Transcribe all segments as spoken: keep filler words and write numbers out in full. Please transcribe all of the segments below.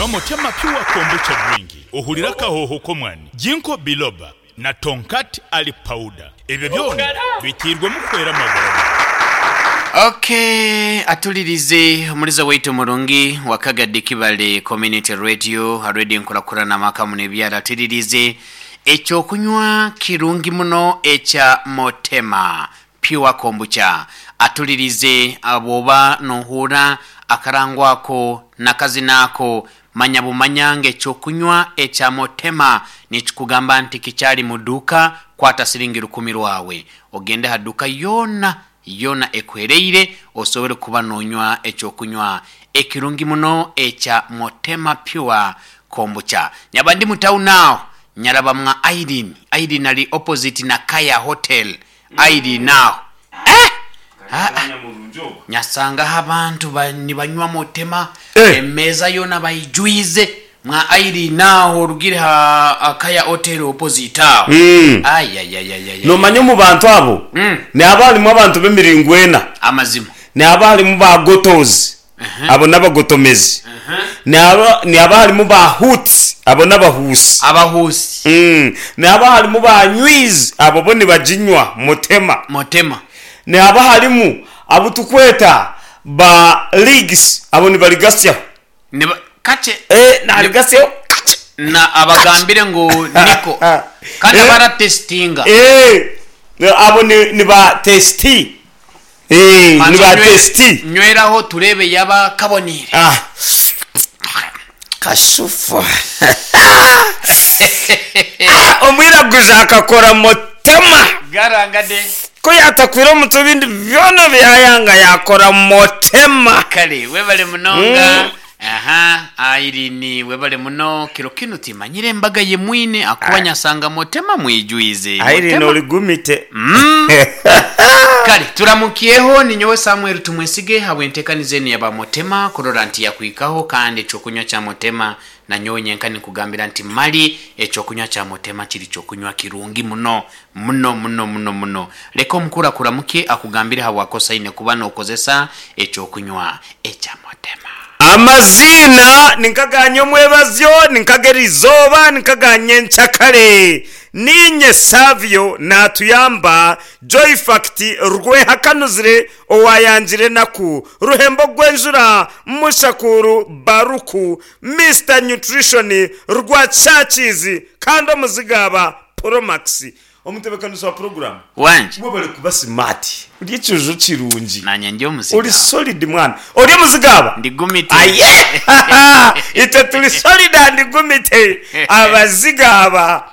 Nywa Motema Pure Kombucha Drink ohurire akahooho k'omwani, Ginkgo Biloba na Tongkat Ali Powder. Ebyo byona biteirwemu kuhwera amagara gaawe. Ok, atulirize omuliza waitu murungi wa Kagadi Kibale Community Radio, radio enkurakurana amaka muno ebyaro. Atulirize ekyokunywa kirungi muno ekya Motema Pure Kombucha. Atulirize bwoba nohuura akarango ako nakazina ako, manya bumanya ngu ekyokunywa ekya Motema nikikugamba nti kikyari mu duuka. Kwata siringi rukumi rwawe ogende aha duuka yoona yoona ekuhereire osobole kuba nonywa ekyokunywa ekirungi muno ekya Motema Pure Kombucha. Nyaba ndi mu town aho nyaraba mwa Irene. Irene ari opposite na Kaya Hotel. Irene aho eh! Ah, ah. Nyasangaho abantu ba- nibanywa Motema. Eh. Emeeza yoona bayijwize mwa Irene aho orugire ha Kaya Hotel opposite aho. Mm. Ayayayayaya. Nomanya omu bantu abo Mm. nihaba harimu abantu b'emiringo ena. Amazima. Nihaba harimu ba gotozi, abo n'abagotomezi. Nihaba nihaba harimu ba huts, abo n'abahuusi. Abahuusi. Mm. Nihaba harimu ba nywizi, abo bo nibaginywa Motema. Motema. Nihaba harimu abu tukweta ba leagues, abo nibarigasyaho. Niba kakye. Eh, narigasyaho kakye. Na abagambire ngu niko kandi Eh. abaratesitinga. Eh, abo ni, ni ba testi. Eh, ni ba testi. Nyweraho turebe yaba kabonire. Ah. Kashufu. Ah, omwiraguzi akakora Motema. Garangade. Ku yatakwire omutwe ebindi byona byayanga yakora Motema. Kale webale munonga. Aha, Irene, webale muno. Kiro kinu timanyire embaga ye mwine akuba nyasanga Motema mwijwize. Irene Motema. ori gumite. Kale turamukyeho, ninyowe Samuel Tumwesige habwentekanize enu yaba Motema kurora nti yakwikaho kandi ekyokunywa kya Motema. Nanyowe nyenka nikugambira nti mali ekyokunywa kya Motema kiri kyokunywa kirungi muno muno muno muno muno. Leka omukuru akuramuke akugambire habwakosa ine kuba nokozesa ekyokunywa ekya Motema. Amaziina ninkaganya omwebazyo, ninkagera izooba, ninkaganya enkyakare. Ninye Savio natuyamba Joy Fact rwehakanuzire owayangire naku ruhembo gwenjura mushakuru baruku Mister Nutrition rwa Churches kandi omuzigaba Promax omutebekanisi wa program. Wanje. Webale kuba smart, ori ekijuju kirungi. Nanye ndi omuzigaba. Ori solid mwana, ori omuzigaba. Ndi gumite. Aye, itwe turi solid and gumite abazigaba.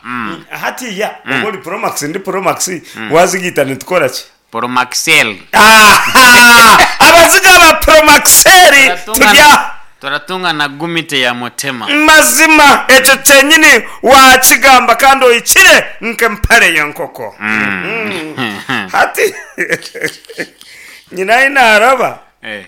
Hatiya oba ori Promax, ndi Promax, wazigita nitukora ki? Promaxel. Aha! Abazigaba Promaxel turya. Turatunga na gumite ya Motema. Mazima ekyo kyenyini wakigamba kandi ohikire nk'empare y'enkoko. Mm. Hati nyina ahi naaraba Eh.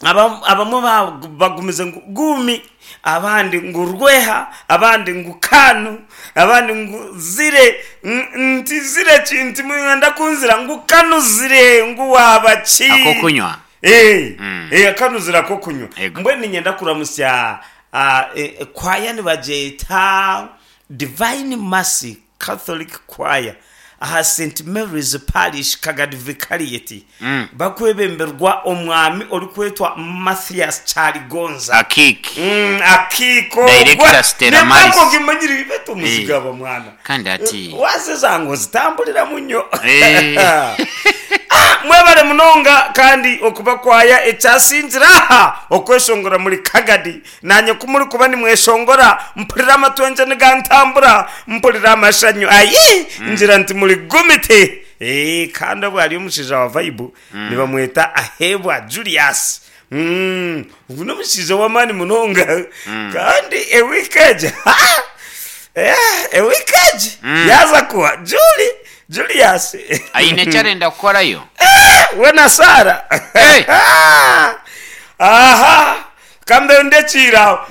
Abam- abamwe ba- bagumize ngu gumi, abandi ngu rweha, abandi ngu kanu, abandi ngu zire. N- nti zire ki? Nti mwenda kunzira ngu kanuzire ngu waba ki? Akokunywa. Eh, Mm. eh, akanuzira akokunywa. Ego. Mbwenu niinyenda kuramusya ah, eh, eh, kwaya nibagyeta Divine Mercy Catholic Choir aha Saint Mary's Parish Kagadi Vicariate, Mm. bakwebemberwa omwami orikwetwa Mathias Kyaligonza. Akiki. Mm, akiiko. Director Stella Maris. Gimanyire betu omuzigaba mwana. Kandi ati waziza ngu zitambuliramu nnyo. Eh. Ah, mwebale munonga kandi okuba kwaya ekyasingira aha okweshongora muri Kagadi. Nanye kumuri kuba nimweshongora mpurira amatwenje nigantambura, mpurira amashanyu ayi, ngira nti muri gumite. Eh, kandi obwo hariyo omushaija wa vibe nibamweta Ahebwa Julius. Mm, ogu n'omushaija w'amaani munonga kandi ewiiki egi, eh, ewiiki egi yaaza kuwa Juli Julius. Aine ekyarenda kukorayo. Eh, we na Sara. Hey! Aha, kambe ndekiire aho.